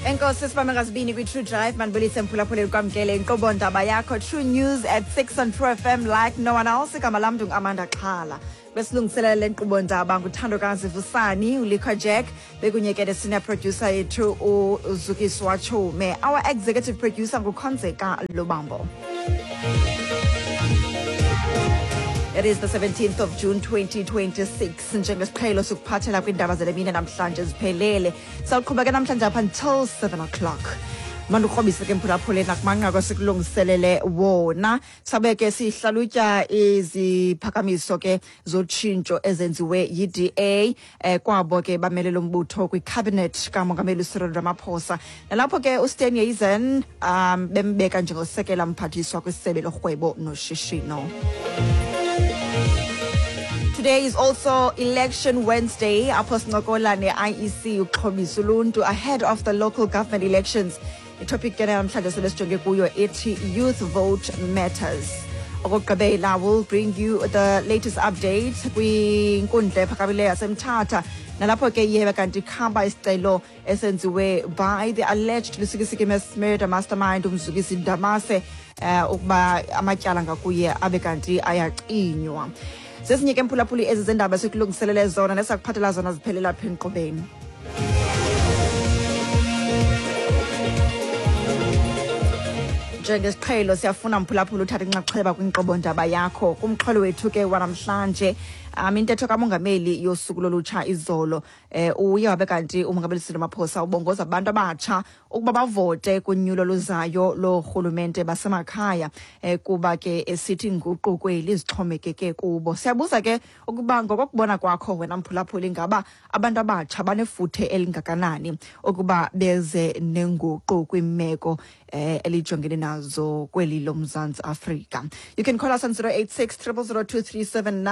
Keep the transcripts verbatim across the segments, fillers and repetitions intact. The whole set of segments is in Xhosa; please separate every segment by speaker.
Speaker 1: Enkosi sibambe ngazibini kwi-True Drive. Mandibulise mphulaphuli, kwamkele inkqubo ndaba yakho True News at six on True F M like no one else. Igama lam ndingu-Amanda Xhala. Besilungiselela le nkqubo ndaba nguthandokazi Vusani, uLikho Jack, bekunye ke ne-senior producer yethu uZukiswa Chume. Our executive producer nguKhonzeka Lubambo. It is the seventeenth of June twenty twenty-six. Njengesiqhelo sikuphathela kwiindaba zale mini namhlanje ziphelele. Sawuqhuba ke namhlanje up until seven o'clock. Mandikrobise ke mphulaphuli nakumanqaku esikulungiselele wona. Sabe ke sihlalutya iziphakamiso ke zotshintsho ezenziwe yi-D A eh, kwabo ke bamele lo mbutho kwicabinet kamongameli Cyril Ramaphosa. Nalapho ke uSteenhuisen um bembeka njengosekela mphathiswa kwisebe lorhwebo noshishino. Today is also Election Wednesday. Apho sincokola ne-I E C uxhobisa uluntu ahead of the local government elections. Itopic ke namhlanje sele sijonge kuyo ithi "Youth Vote Matters". Okokugqibela, will bring you the latest update kwinkundla ephakamileyo yaseMthatha, nalapho ke iye kanti khamba isicelo esenziwe by the alleged Lusikisiki mass murder mastermind uMzukisi Ndamase eh ukuba amatyala ngakuye abe kanti ayacinywa. Zezinye ke mphulaphuli ezi zendaba esikulungiselele zona nesakuphathela zona ziphelela apha enkqubeni. Njengesiqhelo siyafuna mphulaphula uthatha inxaxheba kwinkqubo ndaba yakho. Kumxholo wethu ke wanamhlanje, um intetho kamongameli yosuku lolutsha izolo, eh uye wabe kanti umongameli Cyril Ramaphosa ubongoza abantu abatsha ukuba bavote kunyulo luzayo lorhulumente basemakhaya, eh kuba ke esithi inguqu kweli zixhomekeke kubo. Siyabuza ke ukuba ngokokubona kwakho wena mphulaphuli, ingaba abantu abatsha banefuthe elingakanani ukuba beze nenguqu kwimeko eh elijongene nazo kweli loMzantsi Afrika? You can call us on zero eight six zero zero two three seven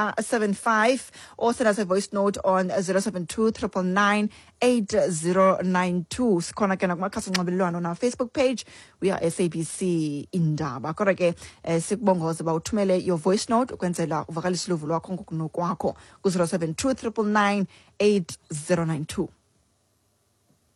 Speaker 1: five or send us a voice note on zero seven two nine nine nine eight zero nine two. Sikhona ke nakumakhasi onxibelelwano, na Facebook page we are S A B C Indaba. Kodwa ke eh, sikubongoze uba uthumele your voice note ukwenzela uvakalise uluvo lwakho ngokunokwakho ku-zero seven two nine nine nine eight zero nine two.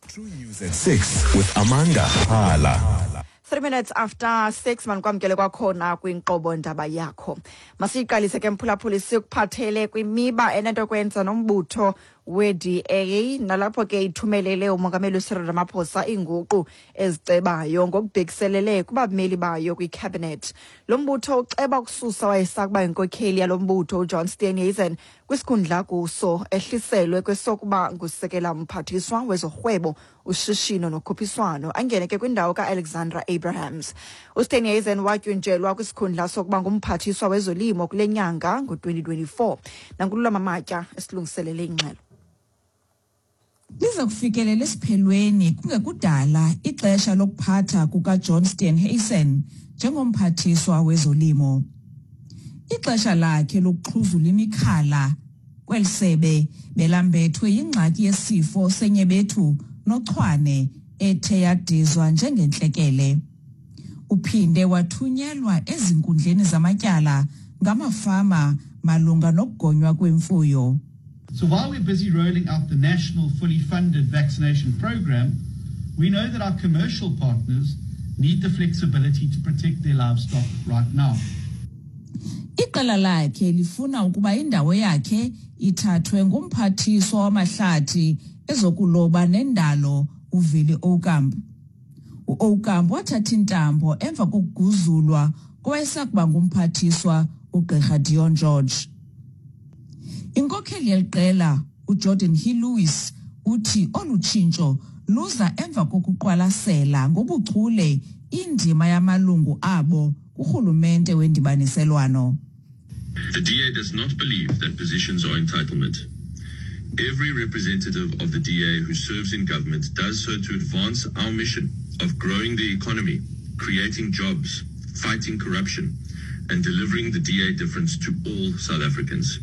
Speaker 2: True News at six with Amanda Hala.
Speaker 1: Three minutes after six, manikwamkele kwakhona kwinkqubo ndaba yakho. Masiyiqalise ke mphulaphuli sikuphathele kwimiba enento kwenza nombutho we-D A, nalapho ke ithumelele umongameli uCyril Ramaphosa iinguqu ezicebayo ngokubhekiselele kubameli bayo kwicabinet. Lo mbutho uceba ukususa wayesakuba yinkokheli yalo mbutho uJohn Steenhuisen kwisikhundla kuso, ehliselwe kwesokuba ngusekela mphathiswa wezorhwebo, ushishino nokhuphiswano, angene ke kwindawo ka-Alexandra Abrahams. USteenhuisen watyunjelwa kwisikhundla sokuba ngumphathiswa wezolimo kule nyanga ngo-twenty twenty-four. NanguLulama Matya esilungiselele ingxelo.
Speaker 3: Liza kufikelela esiphelweni kungekudala ixesha lokuphatha kukaJohn Steenhuisen njengomphathiswa wezolimo. Ixesha lakhe lokuxhuzula imikhala kweli sebe belambethwe yingxaki yesifo senyebethu nochwane ethe yadizwa njengentlekele. Uphinde wathunyelwa ezinkundleni zamatyala ngamafama malunga nokugonywa kwemfuyo.
Speaker 4: So while we're busy rolling out the national fully funded vaccination program, we know that our commercial partners need the flexibility to protect their livestock right now.
Speaker 3: Iqela lakhe lifuna ukuba indawo yakhe ithathwe ngumphathiswa wamahlathi, ezokuloba nendalo uWillie Aucamp. UAucamp wathatha intambo emva kokuguzulwa kowayesakuba ngumphathiswa uGqirha Dion George. Inkokheli yeliqela uGeordin Hill-Lewis uthi olu tshintsho luza emva kokuqwalasela ngobuchule indima yamalungu abo kurhulumente wendibaniselwano.
Speaker 5: The D A does not believe that positions are entitlement. Every representative of the D A who serves in government does so to advance our mission of growing the economy, creating jobs, fighting corruption, and delivering the D A difference to all South Africans.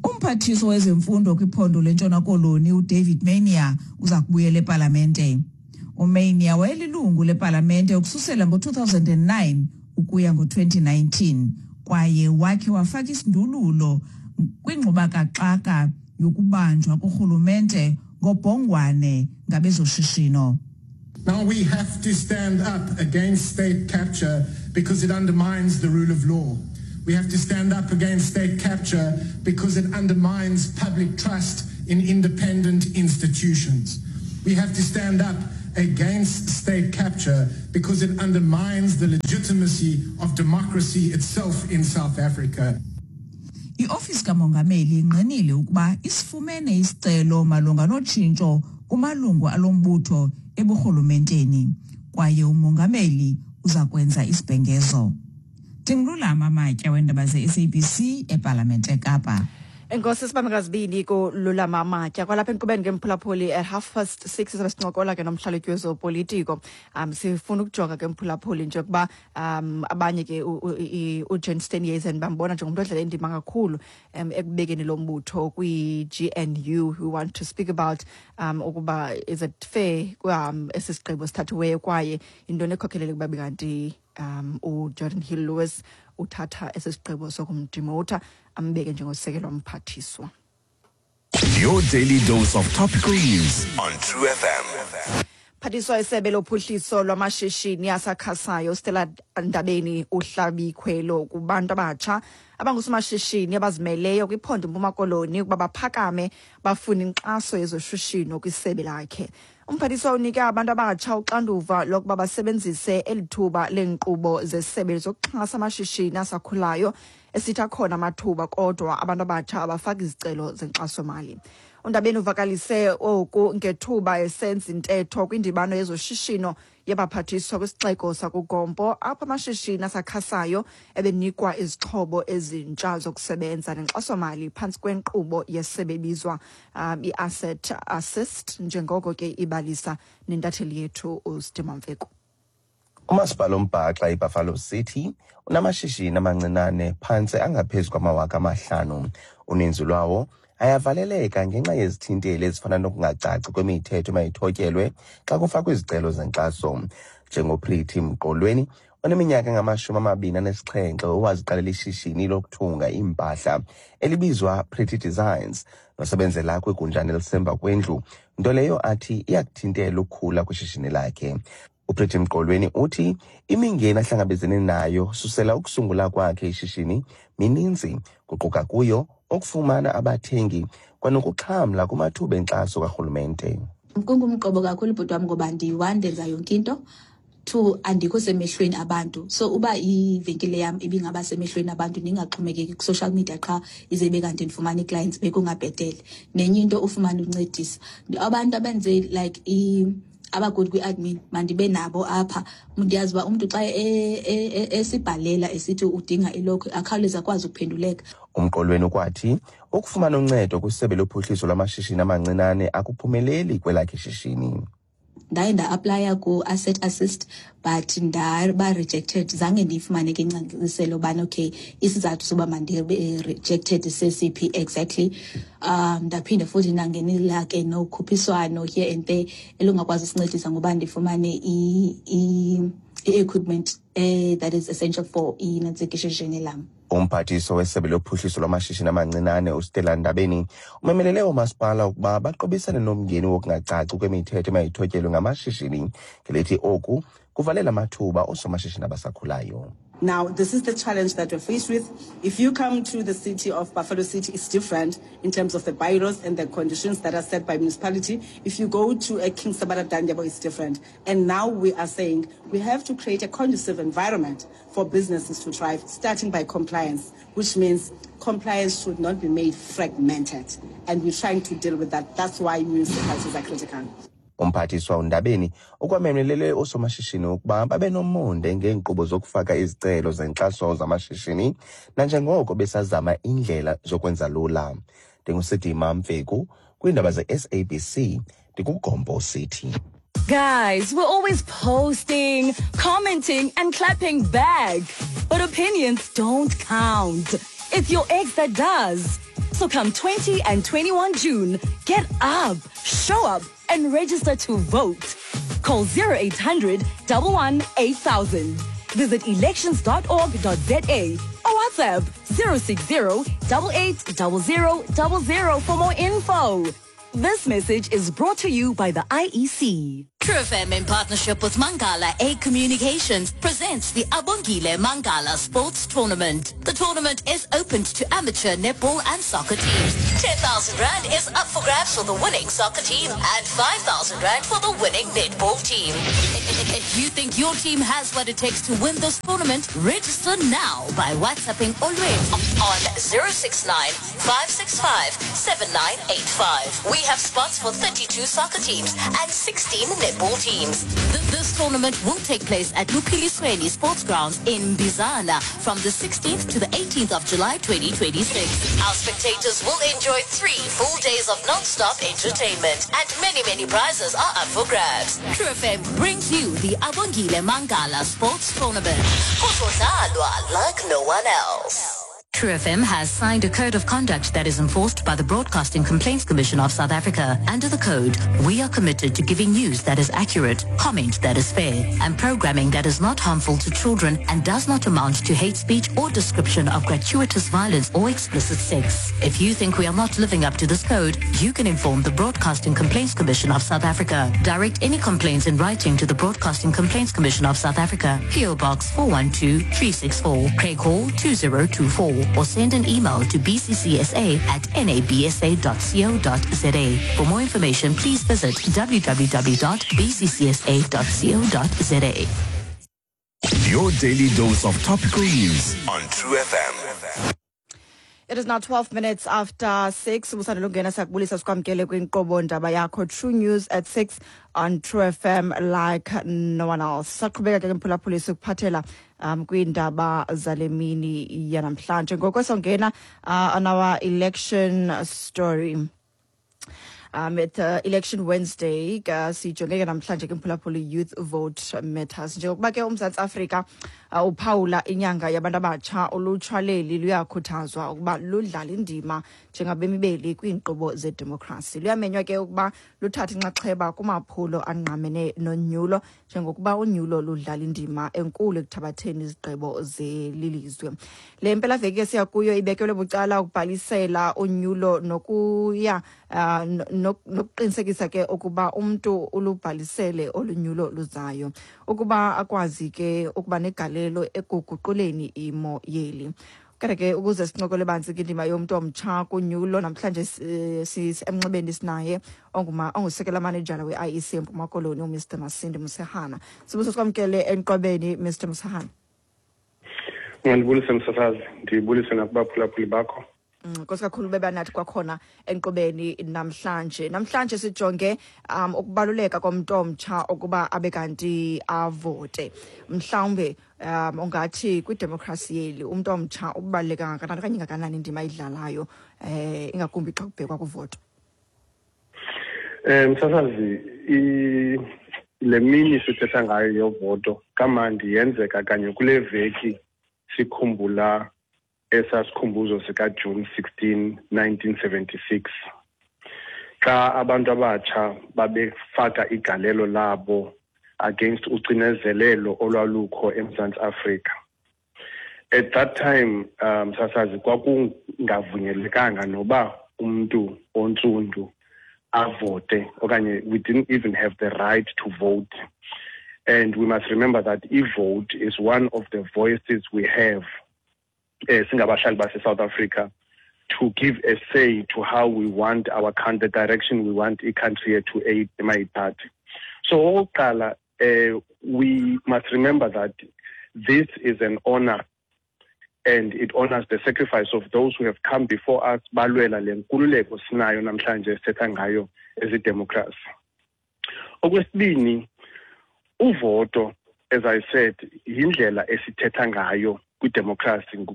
Speaker 3: Umphathiswa wezemfundo kwiphondo leNtshona Koloni uDavid Maynier uza kubuyela epalamente. UMaynier wayelilungu lepalamente ukususela ngo-two thousand and nine ukuya ngo-twenty nineteen kwaye wakhe wafaka isindululo kwingxubakaxaka yokubanjwa kurhulumente ngobhongwane ngabezoshishino.
Speaker 6: Now we have to stand up against state capture because it undermines the rule of law. We have to stand up against state capture because it undermines public trust in independent institutions. We have to stand up against state capture because it undermines the legitimacy of democracy itself in South Africa.
Speaker 3: Iofisi kamongameli ingqinile ukuba isifumene isicelo malunga notshintsho kumalungu alombutho eburhulumenteni kwaye umongameli uza kwenza isibhengezo. Ndingululama Matya weendaba ze-S A B C ePalamente eKapa.
Speaker 1: Enkosi sibambe ngazibini kuLulama Matya. Kwalapha enkqubeni ke mphulaphuli at half past six sizabe sincokola ke nomhlalutyi wezopolitiko. Um sifuna ukujonga ke mphulaphuli nje ukuba um abanye ke uJohn Steenhuisen bambona njengomntu odlala indima kakhulu um ekubekeni lo mbutho kwi-G N U. We want to speak about um ukuba is it fair um esi sigqibo sithathiweyo kwaye yintoni ekhokhelele ukuba kanti um uGeordin Hill-Lewis uthatha esi sigqibo sokumdimota ambeke njengosekelo mphathiswa.
Speaker 2: Your daily dose of topical news on True F M.
Speaker 1: Phathiswa isebe lophuhliso lwamashishini asakhasayo Stella Ndabeni uhlabikhwelo kubantu abatsha abangusomashishini abazimeleyo kwiphondo Mpuma Koloni ukuba baphakame bafune inkxaso yezoshishino kwisebe lakhe. Umphathiswa unike abantu abatsha uxanduva lokuba basebenzise eli thuba leenkqubo zesebe zokuxhasa amashishini asakhulayo esithi akhona amathuba kodwa abantu abatsha abafaki izicelo zenkxasomali. UNdabeni uvakalise oku ngethuba esenza intetho kwindibano yezoshishino yabaphathiswa kwisixeko sakuGompo apho amashishini asakhasayo ebenikwa izixhobo ezintsha zokusebenza nenkxasomali phantsi kwenkqubo yesebe ebizwa um, i-Asset Assist, njengoko ke ibalisa nentatheli yethu uSidima Mfeku.
Speaker 7: Umasipala ombhaxa iBuffalo City unamashishini amancinane phantse angaphezu kwamawaka amahlanu. Uninzi lwawo ayavaleleka ngenxa yezithinteli ezifana nokungacaci kwemithetho emayithotyelwe xa kufakwa izicelo zenkxaso. NjengoPretty Mqolweni oneminyaka engamashumi amabini anesixhenxe owaziqalela ishishini lokuthunga iimpahla elibizwa Pretty Designs nosebenzela kwigunjana elisemva kwendlu, nto leyo athi iyakuthintela ukukhula kwishishini lakhe. uPretty Mqolweni uthi imingeni ahlangabezene nayo susela ukusungula kwakhe ishishini mininzi, kuquka kuyo ukufumana abathengi kwanokuxhamla kumathuba enkxaso karhulumente.
Speaker 8: Kungumqobo kakhulu bhuti wam ngoba ndiyi-one ndenza yonke into, two andikho semehlweni abantu. So uba ivenkile yam ibingaba semehlweni abantu ndingaxhomekeki ku-social media qha ize ibe kanti ndifumana ii-clients bekungabhetele. Nenye into ufumane uncedisa abantu abenze like i abagood kwi-admin mandibe nabo apha. Ndiyazi uba umntu xa esibhalela esithi udinga ilokho akhawuleze akwazi ukuphenduleka.
Speaker 7: Umqolweni ukwathi ukufumana uncedo kwisebe lophuhliso lwamashishini amancinane akuphumeleli kwelakhe ishishini.
Speaker 8: Ndaye nda-aplaya ku-Asset Assist but ndaba rejected. Zange ndiyifumane ke ingcaciselo ubana okay isizathu soba mandibe rejected sesiphi exactly. Um ndaphinda futhi ndangenela ke nokhuphiswano here and there elungakwazi usincedisa ngoba ndifumane i-equipment eh, that is essential for inantsika ishishini lam.
Speaker 7: Umphathiswa wesebe lophuhliso lwamashishini amancinane uStella Ndabeni umemelele oomasipala ukuba baqobisane nomngeni wokungacaci kwemithetho emayithotyelwe ngamashishini, ngelithi oku kuvalela amathuba oosomashishini abasakhulayo.
Speaker 9: Now, this is the challenge that we're faced with. If you come to the city of Buffalo City, it's different in terms of the bylaws and the conditions that are set by municipality. If you go to a King Sabata Dalindyebo, it's different. And now we are saying we have to create a conducive environment for businesses to thrive, starting by compliance, which means compliance should not be made fragmented. And we're trying to deal with that. That's why municipalities are critical.
Speaker 7: Umphathiswa uNdabeni ukwamemelele oosomashishini ukuba babe nomonde ngeenkqubo zokufaka izicelo zenkxaso zamashishini nanjengoko besazama indlela zokwenza lula. NdinguSidima Mfeku kwiindaba ze-S A B C ndikuGompo City.
Speaker 10: Guys, we're always posting, commenting and clapping back. But opinions don't count. It's your ex that does. So come twenty and twenty-one June, get up, show up and register to vote. Call zero eight hundred, one one eight thousand. Visit elections dot org dot z a or WhatsApp zero six zero, eight eight zero zero zero zero for more info. This message is brought to you by the I E C.
Speaker 11: True
Speaker 10: True F M, in partnership with Mangala A Communications, presents the Abongile Mangala Sports Tournament. The tournament is open to amateur netball and soccer teams. ten thousand rand is up for grabs for the winning soccer team and five thousand rand for the winning netball team. If you think your team has what it takes to win this tournament, register now by WhatsApping Olwethu on zero six nine, five six five, seven nine eight five. We have spots for thirty-two soccer teams and sixteen netball teams. Th- This tournament will take place at Luphilisweni Sports Grounds in Bizana from the sixteenth to the eighteenth of July twenty twenty-six. Our spectators will enjoy three full days of non-stop entertainment, and many, many prizes are up for grabs. True F M brings you the Abongile Mangala Sports Tournament. Kuzodlalwa like no one else. True F M has signed a code of conduct that is enforced by the Broadcasting Complaints Commission of South Africa. Under the code, we are committed to giving news that is accurate, comment that is fair, and programming that is not harmful to children and does not amount to hate speech or description of gratuitous violence or explicit sex. If you think we are not living up to this code, you can inform the Broadcasting Complaints Commission of South Africa. Direct any complaints in writing to the Broadcasting Complaints Commission of South Africa, P O. Box four one two, three six four, Craighall two zero two four, or send an email to B C C S A at nabsa dot co dot za. For more information, please visit W W W dot B C C S A dot co dot za.
Speaker 2: Your daily dose of topical news on True F M.
Speaker 1: It is now twelve minutes after six. Usandula ukungena, siyakubulisa, sikwamkele kwinkqubo Ndaba Yakho, True News at six on True F M like no one else. Saqhubeka ke, mphulaphuli, sikuphathela um kwiindaba zale mini yanamhlanje. Ngoko songena uh, on our election story. Um, at uh, Election Wednesday, uh, sijonge ke namhlanje ke, mphulaphuli, Youth Vote Matters. Njengokuba ke uMzantsi Afrika uh, uphawula inyanga yabantu abatsha, ulutsha leli luyakhuthazwa ukuba ludlale indima njengabemi beli kwiinkqubo zedemokhrasi. Luyamenywa ke ukuba luthathe inxaxheba kumaphulo angqamene nonyulo, njengokuba unyulo ludlala indima enkulu ekuthabatheni izigqibo zelilizwe. Le mpelaveki esiya kuyo ibekelwe bucala ukubhalisela unyulo nokuya uh, nokuqinisekisa ke ukuba umntu ulubhalisele olunyulo luzayo, ukuba akwazi ke ukuba negalelo ekuguquleni imo yeli. Kodwa ke ukuze sincokole banzi indima yomntu omtsha kunyulo namhlanje, emnxebeni sinaye onguma ongusekela manejala we-I E C eMpuma Koloni, uMr Masindi Musehana. Sibuso, sikwamkele enqwebeni, Mister Musehana.
Speaker 11: Ngiyandibulise, msasazi, ndibulise nakubaphulaphuli bakho.
Speaker 1: Nkosi kakhulu bebanathi kwakhona enkqubeni namhlanje. Namhlanje sijonge um ukubaluleka komntu omtsha ukuba abe kanti avote. Mhlawumbe um ungathi kwidemokhrasi yeli umntu omtsha ubaluleka kangakanani okanye ingakanani indima ayidlalayo, eh ingakumbi xa kubhekwa kuvoto?
Speaker 11: Eh msasazi, le mini sithetha ngayo yovoto kamandi yenzeka kanye kule veki sikhumbula esasikhumbuzo sika June sixteen nineteen seventy-six, xa abantu abatsha babefaka igalelo labo against ucinezelelo olwalukho eMzantsi Afrika. At that time, um sasazi, kwakungavunyelekanga noba umuntu ontsundu avote okanye we didn't even have the right to vote. And we must remember that e-vote is one of the voices we have eh singabahlali base South Africa to give a say to how we want our country, the direction we want i-country yethu emayithathe. So okokuqala, eh we must remember that this is an honor and it honors the sacrifice of those who have come before us, balwela le nkululeko sinayo namhlanje esithetha ngayo ezidemocracy. Okwesibini, uvoto, as I said, yindlela esithetha ngayo kwidemocracy.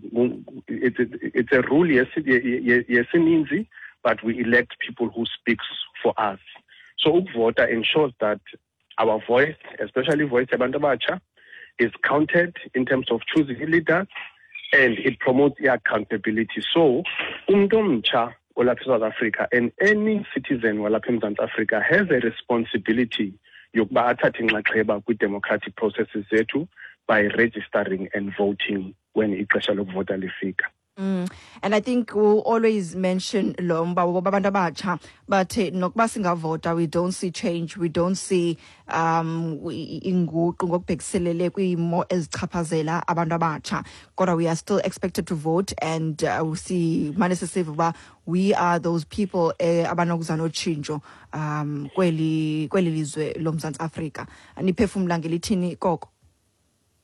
Speaker 11: it's, it's a rule yesininzi, but we elect people who speaks for us. So ukuvota ensures that our voice, especially voice yabantu abatsha, is counted in terms of choosing leaders, and it promotes accountability. So umuntu omtsha olapha eSouth Africa and any citizen walapha eMzantsi Africa has a responsibility yokuba athathe inxaxheba kwi-democratic processes zethu by registering and voting when ixesha lokuvota lifika.
Speaker 1: Mm. And I think we'll always mention lo mba woba abantu abatsha, but eh, nokuba singavota, we don't see change, we don't see um i- inguqu ngokubhekiselele kwiimo ezichaphazela abantu abatsha, kodwa we are still expected to vote and uh, simane sisiva uba we are those people eh, abanokuza notshintsho um kweli kweli lizwe loMzantsi Afrika. Niphefumla ngelithini koko?